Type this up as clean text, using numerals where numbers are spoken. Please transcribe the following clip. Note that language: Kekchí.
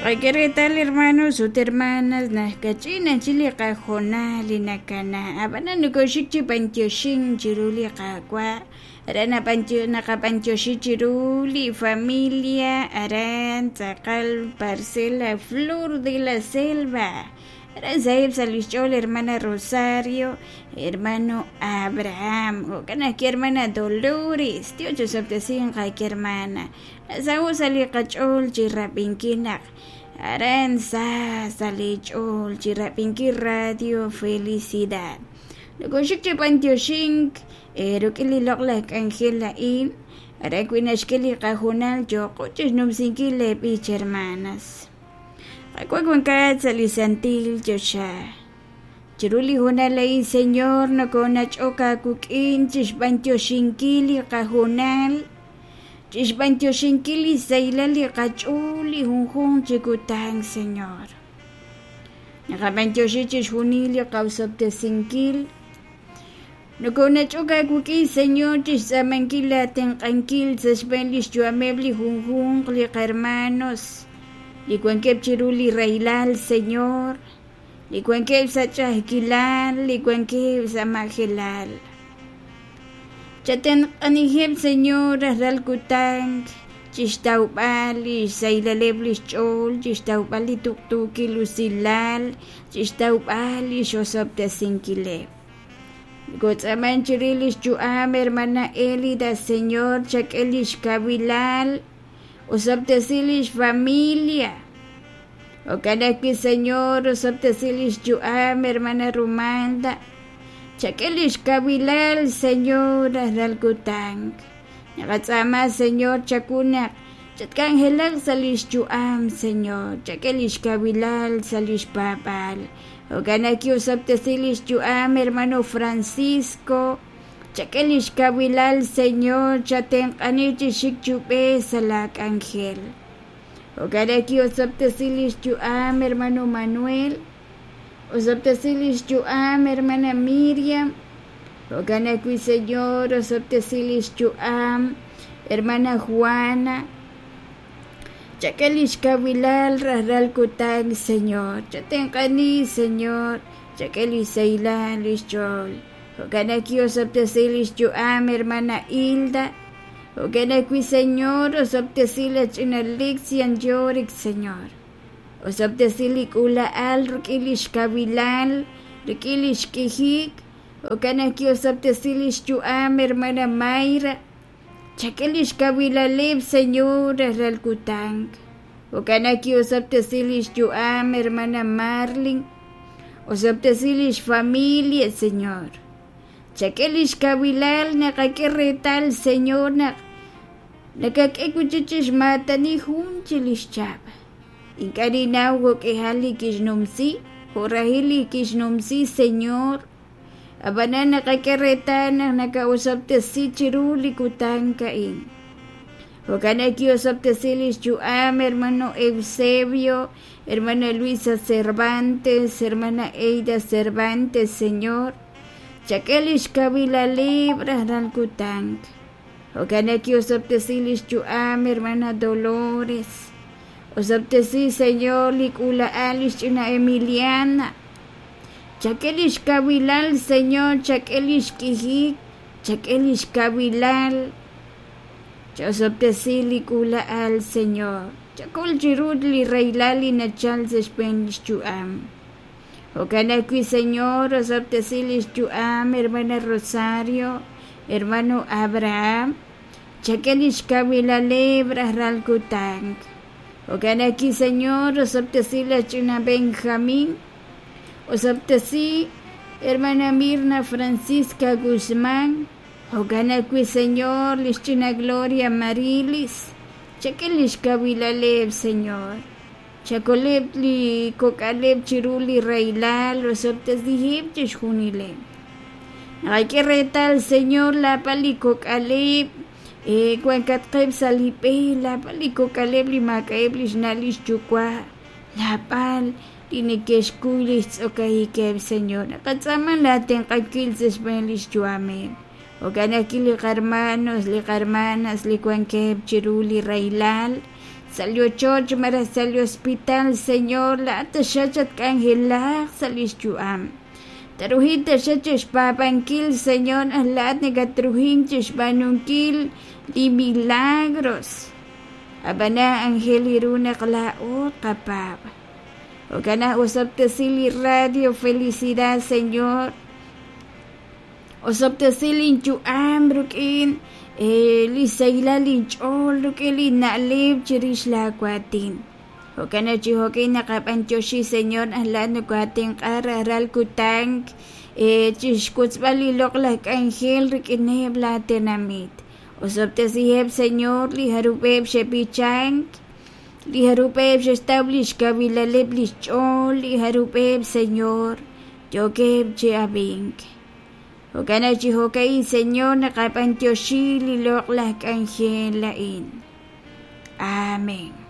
Qak'e reetal hermanos ut hermanas naq kach'in ajchi li qahoonal li nakana ab'anan nokoxik chi b'antioxink chiru li Qaawa' aran naqab'antioxi chiru li familia aran tz'aqal parcela Flor de la Selva aran saheb' sa' lix ch'ool hermana Rosario hermano Abraham jo'kan ajwi' hermana Dolores Dios chosob'tesinq qak'e hermana Nasaho' sa' li qach'ool chi rab'inkil naq aran sa sa' li ch'ool chi rab'inkil Radio Felicidad. Nokoxik chi b'antioxink rik'in li loq'laj k'anjel a'in, aran wi' naxk'e li qahoonal yooqo chixnumsinkil lee b'ich hermanas. Qaawa' wankat sa' li santil choxa. Chiru li hoonal a'in, Señor, nokonach'ok aawik'in chixb'antioxinkil li qahoonal Chixb'antioxinkil li sahilal li qach'ool li junjunq chi kutan, Señor. Naqab'antioxi chixjunil li qawsob'tesinkil. Nokonach'ok aawik'in, Señor, chixtz'aamankil aatenq'ankil sa' xb'een lix yu'ameb' li junjunq li qahermanos li wankeb' chiru li rahilal, Señor, li wankeb' sa' ch'a'ajkilal, li wankeb' sa' majelal. Chatenq'aniheb', Señor, rajlal kutan chixtawb'al lix sahilaleb' lix ch'ool, chixtawb'al li tuqtuukil usilal, chixtawb'al lix osob'tesinkileb'. Nokotz'aaman chirix lix yu'am Hermana Elida, Señor, chak'e lix kawilal, osob'tesi lix familia. Jo'kan ajwi', Señor, osob'tesi lix yu'am Hermana Rumalda, Chak'e lix kawilal, Señor, rajlal kutan. Naqatz'aama, Señor, chawu naq chatk'anjelaq sa' lix yu'am, Señor. Chak'e lix kawilal sa' lix paab'aal. Jo'kan naq ki'osob'tesi lix yu'am, Hermano Francisco. Chak'e lix kawilal, Señor, chatenq'ani chi xik chi ub'ej sa' laa k'anjel. Jo'kan naq ki'osob'tesi lix yu'am, Hermano Manuel. Osob'tesi lix yu'am, hermana Miriam. Jo'kan ajwi', Señor, osob'tesi lix yu'am, hermana Juana. Chak'e lix kawilal rajlal kutan, Señor. Chatenq'ani, Señor. Chak'e lix sahilal lix ch'ool. Jo'kan ajwi' osob'tesi lix yu'am, hermana Hilda. Jo'kan ajwi', Señor, osob'tesi la ch'ina Lixian Yorick, Señor. Osob'tesi li k'uula'al rik'in li xkawilal, rik'in li xk'ijik, jo'kan naq ki'osob'tesi li xyu'am hermana Mayra. Chak'e li xkawilaleb', Señor, rajlal kutan. Jo'kan naq ki'osob'tesi li xyu'am hermana Marlin. Osob'tesi li xfamilia, Señor. Chak'e li xkawilal, naqak'e reetal, Señor, naq Nakak'e wi' chik chi xmaatani jun chi li xchab'. Ink'a' ninnaw jo'k'ihal li kixnumsi, jo' rahil li kixnumsi, Señor. Ab'anan naqak'e reetal naq naka'osob'tesi chiru li kutan a'in. Jo'kan naq ki'osob'tesi li xyu'am hermano Eusebio, hermana Luisa Cervantes, hermana Eida Cervantes, Señor. Chak'e li xkawilaleb' rajlal kutan. Jo'kan naq ki'osob'tesi li xyu'am hermana Dolores. Osob'tesi, Señor, li k'uula'al li xch'ina Emiliana. Chak'e li xkawilal, Señor, chak'e li xk'ijik, chak'e li xkawilal. Cha'osob'tesi li k'uula'al, Señor. Chakol chiru li rahilal li nachal sa' xb'een li xyu'am. Jo'kan ajwi', Señor, osob'tesi li xyu'am hermana Rosario, hermano Abraham, chak'e li xkawilaleb' rajlal kutan. Jo'kan ajwi', Señor, osob'tesi laj ch'ina Benjamín, osob'tesi hermana Mirna Francisca Guzmán, jo'kan ajwi', Señor, li xch'ina Gloria Marilis, chak'e li xkawilaleb', Señor. Chakoleb' li kok'aleb' chiru li rahilal, osob'tesiheb' chixjunileb'. Naqak'e reetal, Señor, laab'al li kok'aleb' wankatqeb' sa' li b'e, laab'al li kok'aleb' li maak'a'eb' lix na' lix yuwa', laab'al li neke'xkuy lix tz'okajikeb', Señor. Naqatz'aama laa tenq'ankil sa' xb'een lix yu'ameb'. Jo'kan ajwi' li qarmanos, li qarmanas li wankeb' chiru li rahilal. sa' li ochoch malaj sa' li hospital, Señor, laa'at taxaq chatk'anjelaq sa' lix yu'am. Taruhin taxaq chixpaab'ankil, Señor, naq laa'at nakatruhin chixb'aanunkil li milagros. Ab'anan anjel ru naq laa'o tqapaab'. Jo'kan naq osob'tesi li Radio Felicidad, Señor. Osob'tesi linyu'am rik'in li sahilal linch'ool, rik'in li na'leb' chirix laawaatin. Jo'kan naq chi jo'kin naqab'anyoxi, Señor, naq laa'at nokooatenq'a rajlal kutan chi xwotzb'al li loq'laj k'anjel rik'ineb' laatenamit. Osob'tesiheb', Señor, li jarub'eb' xe'b'ichank, li jarub'eb' xe'xtaw li xkawilaleb' li xch'ool, li jarub'eb', Señor, yookeb' chi ab'ink. Jo'kan naq chi jo'ka'in, Señor, naqab'anyoxi li loq'laj k'anjel a'in. Amén.